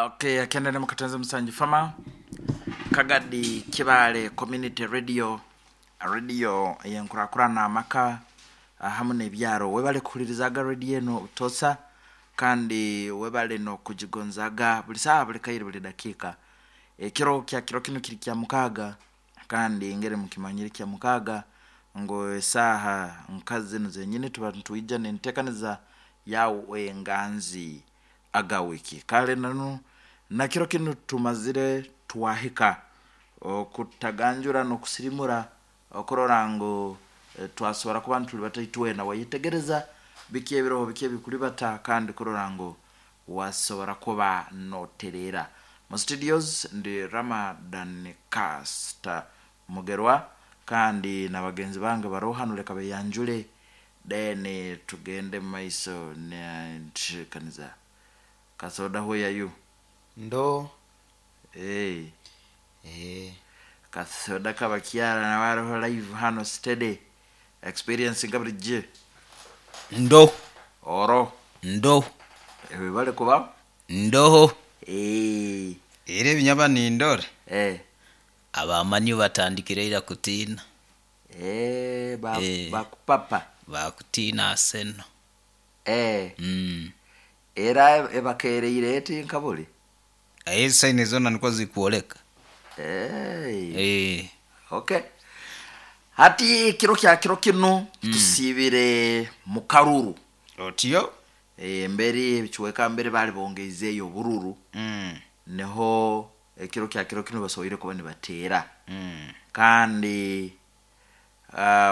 Okay, akenda ne mukatanza musanju fama Kagadi Kibale Community Radio, radio eyenkurakurana amaka hamu n'ebyaro. Webale kuhulirizaga radio eno butosa kandi webale n'okugigonzaga buli saaha, buli kaire, buli dakiika. Ekiro kya kiro kinu kiri kya mukaaga, kandi engeri mukimanyire kya mukaaga ngu esaaha nka zinu zenyini tuba nitwija n'enteekaniza yawe enganzi aga wiki. Kale nanu na kiro kinu tumazire twahika okutaganjura n'okusirimura okurora ngu twasobora kuba nitulibata itwena, wayetegereza biki ebiroho, biki ebikulibata, kandi kurora ngu wasobora kuba notereera. Mu studios ndi Ramadan Caster Mugerwa, kandi na bagenzi bange baroho hanu, leka beyanjule then tugende mumaiso nenteekaniza. Kasoda, where are you? Ndo. Hey. Eh. Kasoda kabakyara nawe aroho live hano, steady experience nga bulijjo. Ndo. Oro. Ndo. Webale kubaho. Ndoho. Hey. Era ebinyaba nindora. Eh. Abamanyi batandikire ira kutiina. Eh, ba, Eh. bakupapa. Bakutiina Arsenal. Eh. Mm. Era ebakereire eti nkabuli. Aye saini zona niko zikuoleka. Hey. Eh. Okay. Hati kiro kya kiro kinu tusibire mu karuru. Otyo. E, mbere ebichweka mbere bali bongeizeyo obururu. Niho ekiro kya kiro kinu basoboire kuba nibateera. Kandi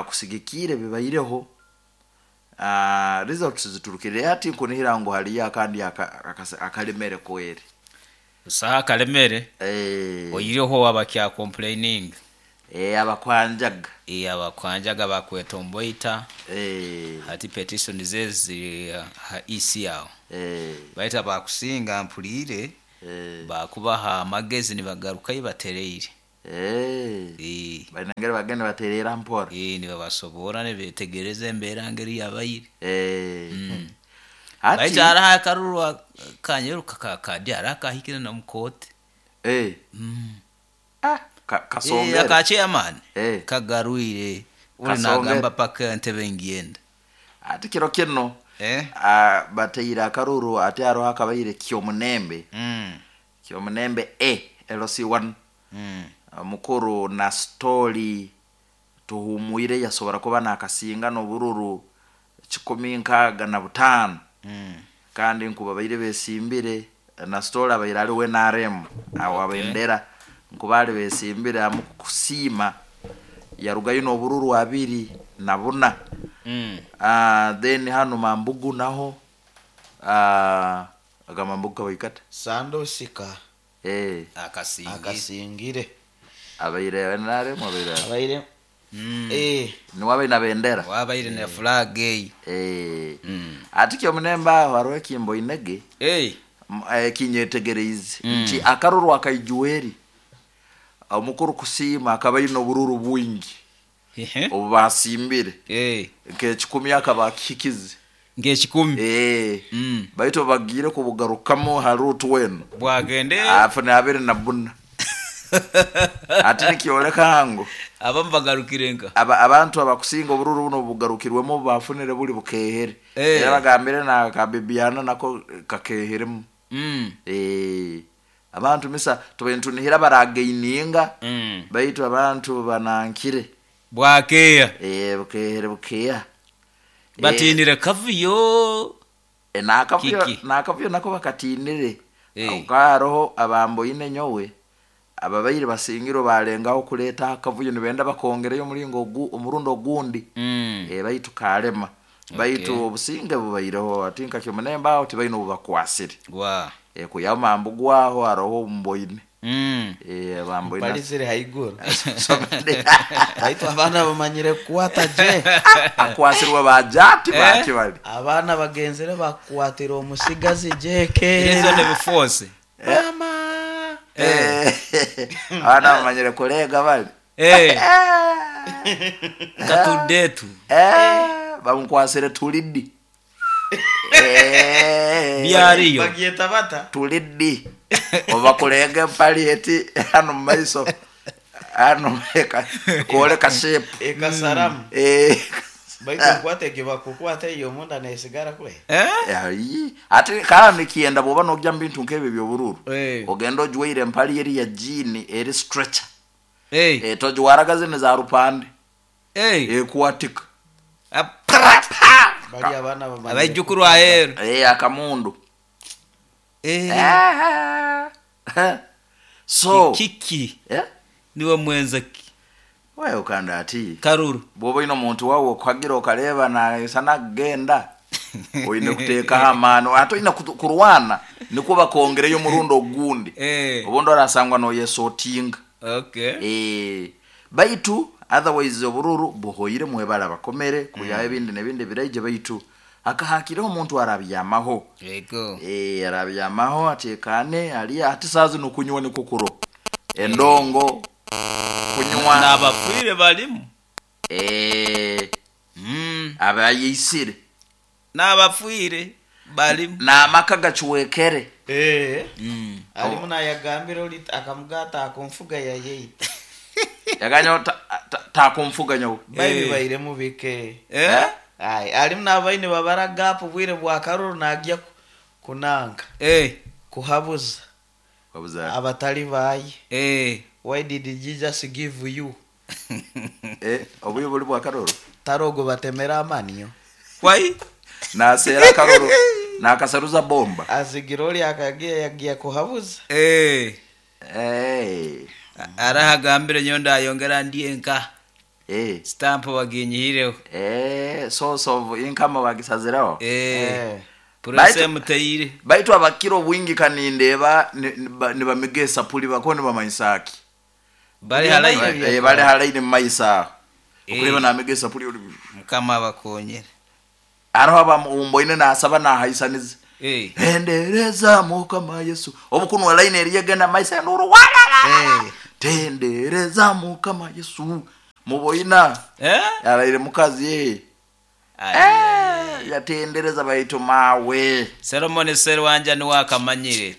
kusigikire bibaireho, results ziturukire hati nkunihira ngu haliyo akandi akalemere kweri. Saha kalemere. Eh. Oyireho abakya complaining. Eh, abakwanjaga. Eh, abakwanjaga bakwetomboita. Eh. Hati petition zezi ha EC yao. Eh. Baita bakusinga mpulire. Eh. Bakubaha amagezi nibagarukayo batereire. Eh. Eh. Bainangere bagenda baterera mpora. Eh, nibabasobora nibetegereza embeera ngeri yabaire. Eh. Mm. Hati Baita hariho akaruru kanyeruka kakadi hariho akahikire na mukooti. Eh. Mm. Ah, kasongere. Eh, aka chairman. Eh. Kagarwire. Uli Kasongere. nagamba paka entebe ngiyenda. Ati kiro kino. Eh. Bateire akaruru ate hariho akabaire Kyomunembe. Kyomunembe A LC1. Mukuru na story tuhumwire yasobora kuba nakasinga n'obururu 165. Kandi nkuba baire besimbire na story abaire ali NRM awo abendera nkuba ali besimbire amu kusiima yarugayo n'obururu 24. Then hano Mambugu naho, aga Mambugu kabaikata Sandosika. Eh. Akasingire. Akasingire. Abaire NRM abaire. Abaire. Eh. Ni wabaire na bendera. Wabaire na flag eh. Eh. Ati Kyomunembe aho hariho ekimbo inege. Eh. Kinyetegereize. Nti akaruru akaijuweri. Omukuru kusiima akaba aine obururu bwingi. Obu basimbire. Eh. Nk'ekikumi akaba akihikize. Nk'ekikumi. Eh. Baitu bagiire kubugarukamo hariho otweno. Bwagende. Afune abiri na buna. Ati nikyoleka ngu abamu bagarukire nka. Abantu abakusinga obururu buno bugarukirwemu bafunire buli bukehere. Eh. Era bagambire na kabibiana nako kakeheremu. Mm. Eh. Abantu misa tubentunihira baragaininga. Baitu abantu banankire. Bwakeya. Eh, bukehere bukeya. Batinire kavuyo. Eh, nakavuyo, Kiki. nakavuyo nako bakatinire. Eh. Hariho abamboine nyowe ababaire basingiro balengaho kuleta akavuyo nibenda bakongereyo omuringo omurundo ogundi. Mm. Eh, baitu kalema. Baitu obusinge bubaireho ati nka Kyomunembe aho tibaine obubakwasire. Wa. Eh, kuyama mbugwaho hariho omboine. Mm. Eh, bamboine. Palisire haiguru. Baitu abaana bamanyire kukwata je. Akwasirwa bajati Eh? baki bali. Abaana bagenzere bakwatira omusigazi jeke. Ezo ne biforce. Mama. Eh. Abaana bamanyire kulega bali. Eh. Katudetu. Eh, bamukwasire tulidi. Byariyo. Bagyeta bata. Tuliddi obakulenga empali eti hano mumaiso hano kwoleka shape. Ekasaramu. Baitu nkwata ekibakukwata eyo omunda nesigara kwe. Eh? Ayi, ate kandi kiyenda bwoba nojja mu bintu nk'ebyo by'obururu, Eh. ogenda ojwaire empali eri ya jean eri stretcher. Eh. Togiwaraga zino za rupande. Eh. Ekwatika. Bali abaana bamanyire. Abaijukuru aheru. Akamundu. Eh. So Kiki niwe mwenzaki. Wewe ukanda ati Karuru. bwoba oyina omuntu wawe okuhagira okareba naisana kugenda oyine kuteekaho amaani ate oyina kurwana nikwo bakongereyo omurundi ogundi. Obundi orasangwa noyesotinga. Okay. Baitu otherwise obururu buhoire mwebala bakomere kuyaho ebindi nebindi biraije baitu akahakireho omuntu arabyamaho. Yego. Arabyamaho atekane ali ati saazi nokunywa nikwo kuro endongo kunywa. N'abafwire balimu. Abayisire. N'abafwire balimu. N'amaka gacwekere. Alimu nayagambira oli akamugata akunfuga yayeita. Yaganyo takunfuga nyowe. Baibi bairemu bike. Eh? Ai, alimu n'abaine babara gap bwire bwa karuru nagya kunanga. Kuhabuza. Kuhabuza. Abatali bayi. Why did Jesus give you? Obuyo buli bwa karuru. Tarogo batemera amaniyo. Why? Nasera karuru. Nakasaruza bomba. Azigiroli akagia yagia kuhabuza. Arahagambire nyonda ayongera ndiye nka. Stamp waginyihireho. Source of income wagisaziraho. Purese muteyire. Baitu abakiro bwingi kanindeba nibamigesa puli bako nibamaisaki. Bali halaini. Bali halaini mumaisa. Okureba namigesa puli oli. Mukama abakonyere. Araho abamumboine nasaba nahaisaniza. Endereza Mukama Yesu. Obukunwa line eriyegenda maisa nuru wala. Tendereza Mukama Yesu. Muboina. Yaraire mukazi yatendereza baitu mawe. Solomon Serwanja ni wakamanyire.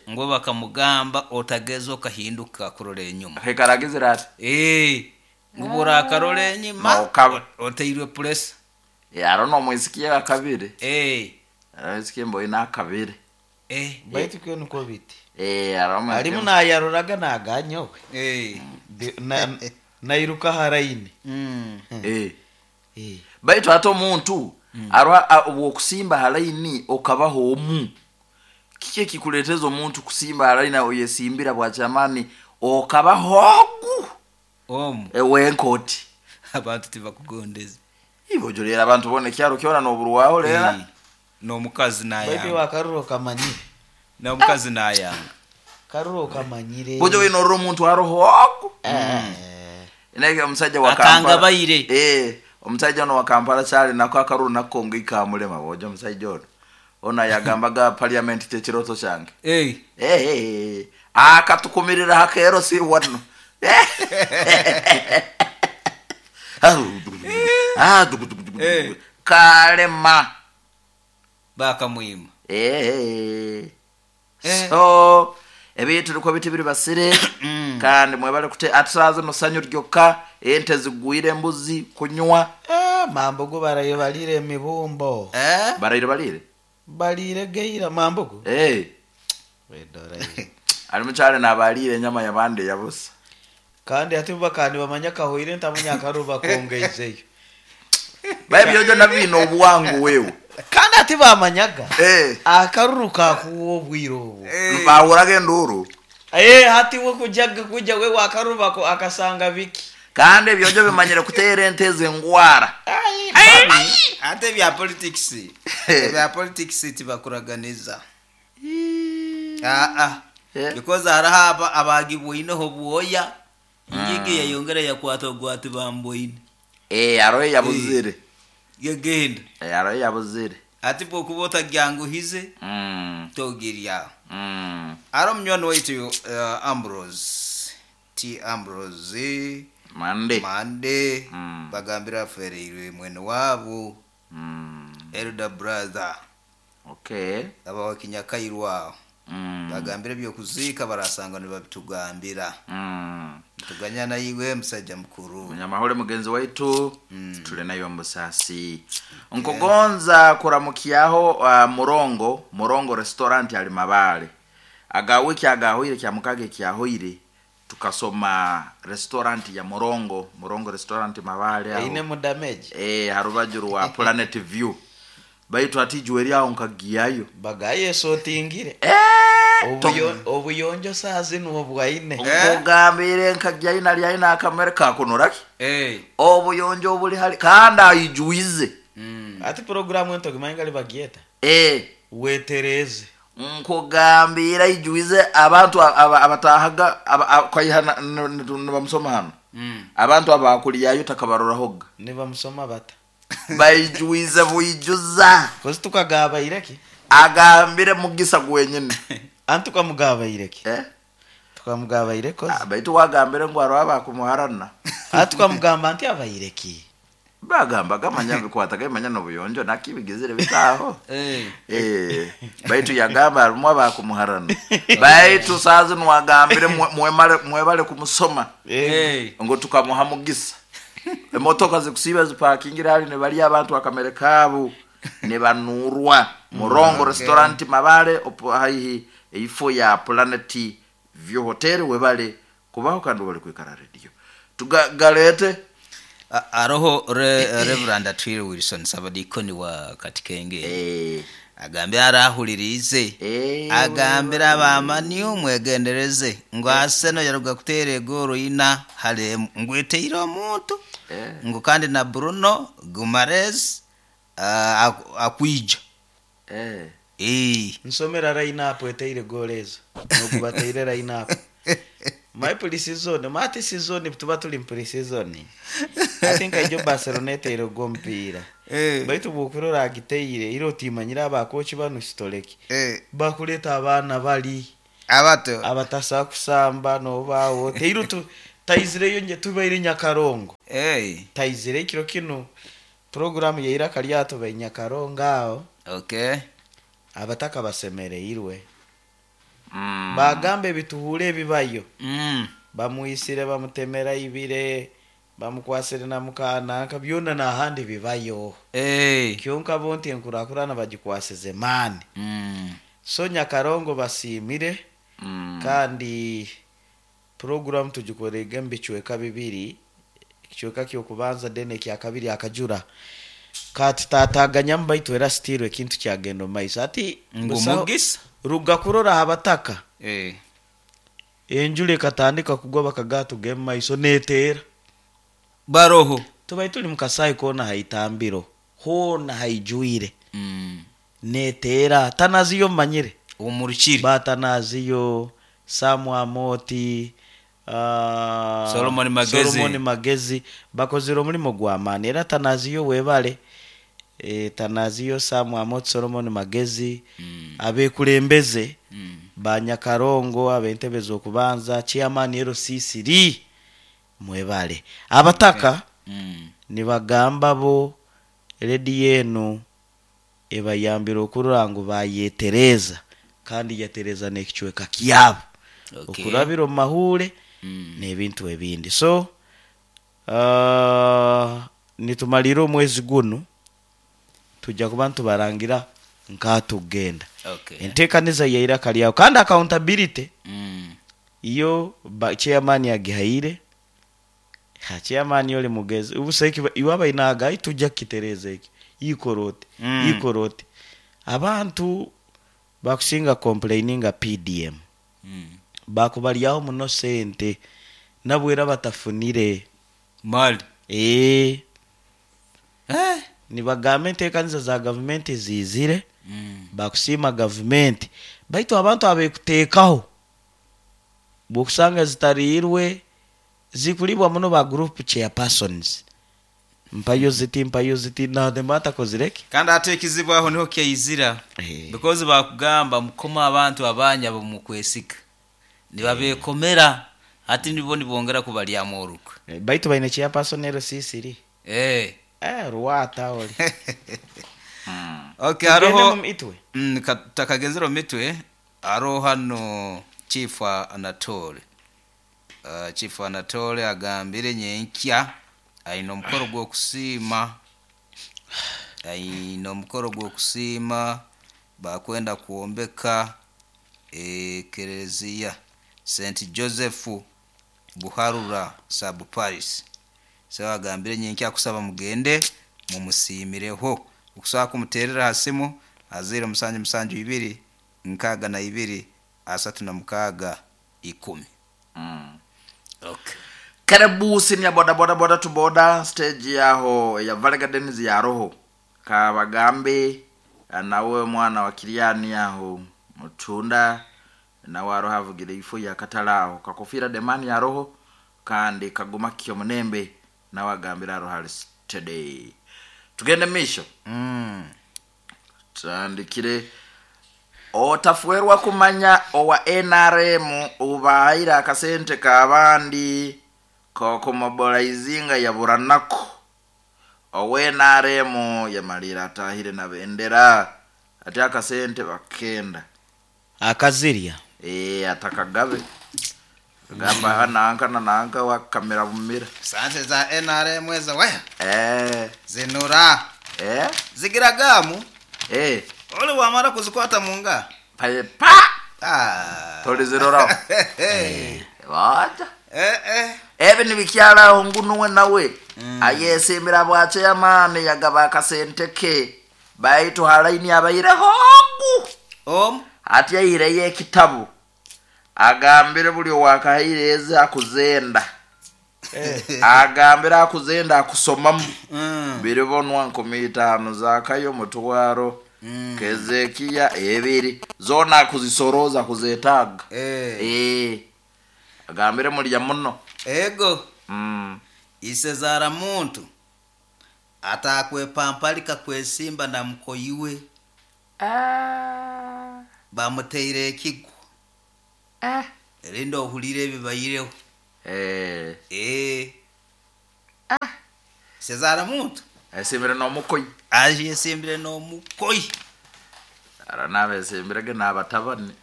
Ngo bakamugamba otageza okahinduka kurora enyuma. Hekaragizira ati. Ngo burakarora enyuma oteirwe press. Arono mwisikia akabire. Arisikie mboina akabire. Baitu kyo niko biti. Aroma. Alimu nayaroraga naganyowe. Nairuka haraini. Baitu ate omuntu arwa obwokusimba halaini okabaho omu. Kiki ekikuleeteza omuntu kusimba halaini oyesimbira bwachamani okabaho ogu. Omu. Wenkoti. Abantu tibakugondeza. Ibo jolera abantu bone kyaro kyona noburuwaho lera. N'omukazi nayanga. Baitu wakaruro kamanyire. N'omukazi nayanga. Karuro kamanyire. Bojo wino ro omuntu aroho ogu. Nege omusajja wa Kampala. Akanga bayire. Omusajja ono wa Kampala kyali nako akaruru nako ngikamulema bojo omusajja ono. Ona yagambaga parliament tekiroto kyange. Akatukumirira hakero si wano. Kalema. Bakamwima. So ebintu niko biti biri basire kandi mwebale kute atsaze no sanyu ryokka ente zigwire embuzi kunywa. Mambogo barayo balire emibumbo. Barayire balire balire geira mambogo. Wedora. Ali mukyale nabalire enyama yabande yabusa. Kandi ati bakandi bamanya kahoire ntamunya karuba kongeizeyo. Baye byojo nabino obwangu wewe. Kandi ati bamanyaga. Akaruruka kuwo bwiro obu. Bahuraga enduru. Hati we kujaga kuja we wakaruba ko akasanga biki. Kandi ebyojo bimanyire kutera ente zengwara. Ate bya politics. Bya politics tibakuraganiza. Because arahaba abagibwineho bwoya. Ingigi yayongera yakwata ogwati bamboine. Aroye yabuzire. Yegenda. Aroye yabuzire. Ati bwokubota gyanguhize. Togirya. Aro mnywani waitu Ambrose. T Ambrose. Mande. Bagambira afereirwe mwene wabo. Elder brother. Okay. Abawa kinyakairwa aho. Bagambire ebyokuziika barasanga nibabitugambira. Tuganya naiwe musajja mukuru. Munyamahole mugenzi waitu, tuli nayo mbusasi. Nkugonza kuramukyaho Murongo restaurant ali Mabale. Aga wiki agahoire kya mukage kyahoire tukasoma restaurant ya Murongo restaurant Mabale aho. Eine mu damage. Harubaju rwa Planet View. Baitu atijwe ryaho nkagiyayo. Bagaye sotingire. Obuyonjo sazi n'obwaine. Nkugambire nkagiyayo nali aina akamere kakunoraki. Obuyonjo obuli hali kandi ayijuize. Ati programu ento gimangali bagieta. Wetereze. Nkugambira ijuize abantu abatahaga kwaiha nibamusoma hano. Abantu abakuliyayo takabarorahoga. Nibamusoma bata. Baijuize buijuza. Kozi tukagabaireki. Agambire mugisa gwenyine. Antu kamugabaireki. Tukamugabaire kozi. Baitu wagambire ngo araba kumuharana. Atukamugamba nti abaireki. Bagamba gamanya bikwata gamanya no buyonjo nakibigizire bitaho. Baitu yagamba arumwa bakumuharana. Baitu sazi nwagambire mwebale kumusoma. Ngo tukamuha mugisa. Emotoka zikusiba ziparkingira hali ne bali abantu akamere kabu ne banurwa. Murongo restaurant Mabale opo haihi ifo ya Planet View Hotel webale kubaho kandi wale kwikara radio. Tugalete Aroho Reverend Atwire Wilson Sabadikoni wa Katikenge. Agambira arahulirize. Agambira abamani umwegendereze ngo Arsenal yaruga kutere goro ina hale ngweteire omuntu. Ngo kandi na Bruno Gumares akwija. Nsomera line up eteire goro ezo. Nokubateire line up. My pre-season, mati season tuba tuli pre-season. I think I jo Barcelona eteire gompira. Baitu bukurora agiteire iro timanyira abakochi banu sitoleki. Bakuleta abana bali abato abatasa kusamba no bawo teiro tu taizireyo nje tubaire Nyakarongo. Taizire kiro kino program ya iraka lyato ba Nyakarongo aho. Okay. Abataka basemereirwe. Bagambe bituhure bibayo. Bamuisire bamutemera ibire bamukwasire na mukana kabyona na handi bibayo. Kyonka bonti enkurakurana bagikwaseze mani. So Nyakarongo basimire. Kandi program tugikorege mbichweka bibiri kichweka kyo kubanza dene kya kabiri akajura kati tataganya mbaitu era stirwe kintu kyagendo maiso ati ngumugisa ruga kurora abataka enjule katandika kugwa bakagatu game maiso netera baroho tubaituli mukasai kona haitambiro hona haijuire netera tanaziyo manyire umurukiri batanaziyo Samu Amoti Solomon Magezi bakozire omulimo gwa maani era tanaziyo webale tanaziyo Samu Amoti Solomon Magezi abekulembeze Banyakarongo abentebeza okubanza chairman LCCD mwebale abataka nibagamba bo redi yenu ebayambira okurora ngu bayetereza kandi yatereza n'ekichweka kyabo. Okurabira omu mahure n'ebintu ebindi. So nitumalira omwezi guno tujja kuba ntubarangira nkatugenda. Enteekaniza yaira kalyawo kandi accountability iyo chairman yagihaire. Ha chairman yole mugezi ubuseki iwaba inaga tujja kitereza iki ikorote ikorote abantu bakusinga complaininga PDM bakubalyaho muno sente nabwera batafunire mali nibagambe enteekaniza za government zizire bakusima government baitu abantu abekuteekaho bokusanga zitarirwe zikulibwa muno ba group chairpersons mpayo ziti na demata kozireki kandi atekizibwaho niho kyeizira because bakugamba mukoma abantu abanya bomukwesika nibabekomera ati nibo nibongera kubalya moruka baitu baine chairperson LCCD ruwata oli Okay, Tugende haroho mu mitwe. Takagenzere omu mitwe, haroho hano Chief Anatole. Chief Anatole agambire nyenkya aine omukoro gw'okusiima, aine omukoro gw'okusiima bakwenda kwombeka ekereziya St Joseph Buharura sub Paris. So agambire nyenkya kusaba mugende mumusiimireho. Okusobola kumuteerera ha simu aziro musanju musanju ibiri nkaaga na ibiri asatu na mukaaga 10. Okay. Karibu senior boda boda boda to boda stage yaho ya Valley Gardens ya roho kabagambe nawe mwana wa Kiriani yaho mutunda nawe aroho avugire ifo ya katalaho kakofira demani ya roho kandi kaguma kyo munembe nawe agambira aroho ali today. Tugende misho. Tandikire otafuerwa kumanya owa NRM ubahaira akasente kabandi kokumobolizinga ya buranako. Owe NRM yamalira atahire na bendera ati akasente bakenda akazirya atakagabe gamba hana nanka nanka wa kamera bumira sante za NRM ezo we zinura zigiragamu ole wamara kuzikwata munga pa pa tolizirora wacha ebe nibikyala ngunuwe nawe ayesimbira bwache yamani yagaba akasente ke baitu halaini abaire hongu ati yaireye ekitabu agambire buli wakahaireza akuzenda agambire akuzenda akusomamu biribonwa 15 zakayo mutwaro Kezekiya ebiri zona akuzisoroza kuzetaga agambire mulya muno ego isezara muntu atakwepampalika kwesimba na mukoyiwe bamuteire ekigwo rinda ohulire ebibayireho sezara muntu esimbire n'omukoyi aje esimbire n'omukoyi ara nabesimbirege n'abatabani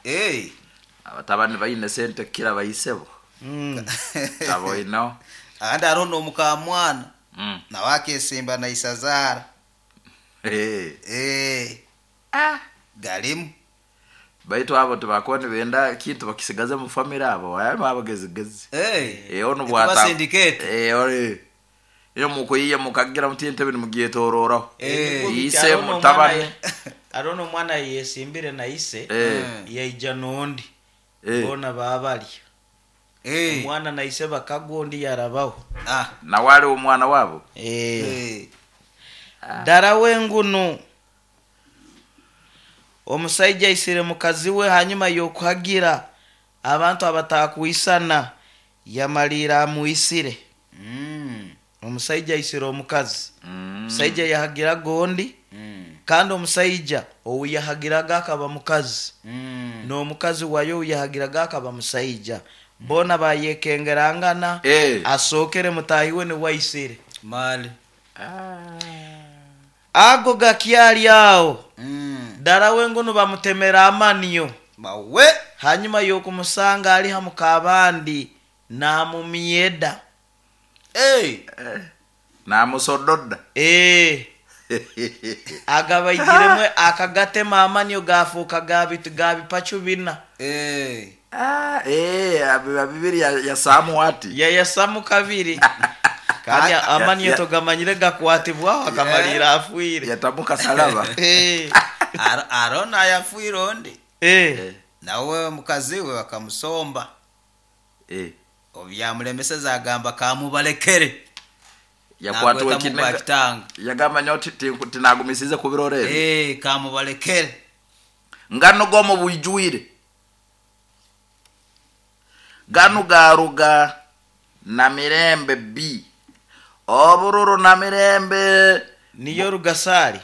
abatabani baine sente kira bayisebo abo ino andi hariho n'omukamwana nawe akesimba na isazara galimu baitu abo tibakuba nibenda kintu bakisigaze mu family abo abo abagezigezi ono bwata iyo mukuyiye mukagira muti entebe nimugyetororaho ise mutabane arono omwana yesimbire na ise yaija n'ondi bona babalya omwana na ise bakagwa ondi yarabaho nawe ali omwana wabo dara wengunu omusaija aisire mukazi we hanyuma y'okuhagira abantu abatakuisana yamalira amuisire. Omusaija aisire omukazi omusaija yahagiraga ondi kandi omusaija owu yahagiraga akaba mukazi n'omukazi wayo owu yahagiraga akaba musaija bona bayekengerangana asokere mutahiwe niwe aisire mali ago gakyali aho dara wengono bamutemera amaniyo mawe hanyuma y'okumusanga ali hamu kabandi namumyeda namusododa agabaigiremwe akagatema amaniyo gafuuka gabipachu bina bibiri yasamu ati yasamu kabiri kandi amaniyo togamanyire gakwatibwaho akamalira afwire yatamuka salaba arona yafwire ondi nawe mukazi we bakamusomba obyamulemeseza agamba kamubalekere yakwatwa kinega yagamba nyo tinagumisize kubirorere kamubalekere ngano gomo buijwire ganu garuga na mirembe b obururu na mirembe niyo rugasari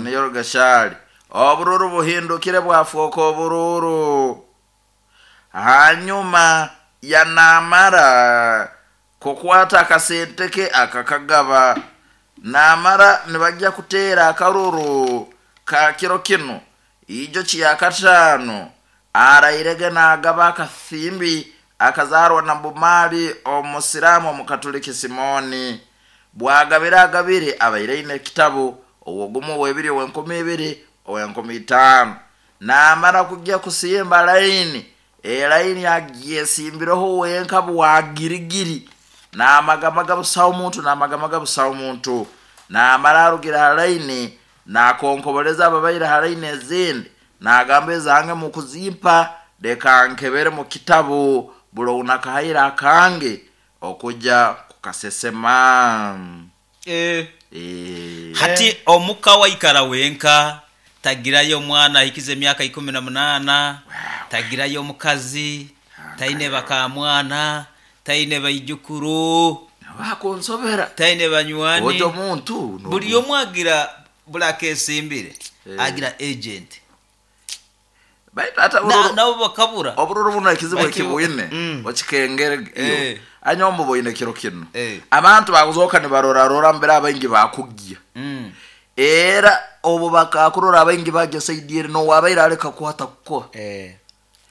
niyo rugasari obururu buhindukire bwafuka obururu hanyuma yanamara kukwata akasente ke akakagaba Namara nibajya kuteera akaruru ka kiro kinu ijo kiyakataano arairege n'agaba akasimbi akazarwa na Bumali omusiramu omukatoliki Simoni. Bwagabire agabire abaire aine ekitabu owogumu, owebiri, owenkumi 2, owenkumi 5. Namara kujya kusimba laini, elaini agyesimbireho wenka bwagirigiri, namagamaga busaho muntu, namagamaga busaho muntu. Namara arugira ha laini, nakonkoboleza ababaire ha laini ezindi, nagamba, "Ezange mukuzimpa, leka nkebere mu kitabu bulo nakahaire akange okujya kukasesema." Hati omuka waikara wenka, tagirayo omwana ahikize emyaka 18, tagirayo omukazi, taine bakamwana, taine baijukuru, bakunsobera taine banywani. Ojo omuntu. Buli omu agira, buli akesimbire agira agent. Baitu ata Nabo bakabura. Obururu buno ekizibu ekibwine okikengere anyombo boine kiro kinu. Abantu bakuzoka nibarorarora mbere abaingi bakugya. Era obu bakakurora abaingi bagya saidi eri, nowabaire aleka kuhata kukoha.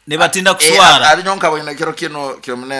Nibatinda kuswara. Abinyonka boine kiro kino kyomune.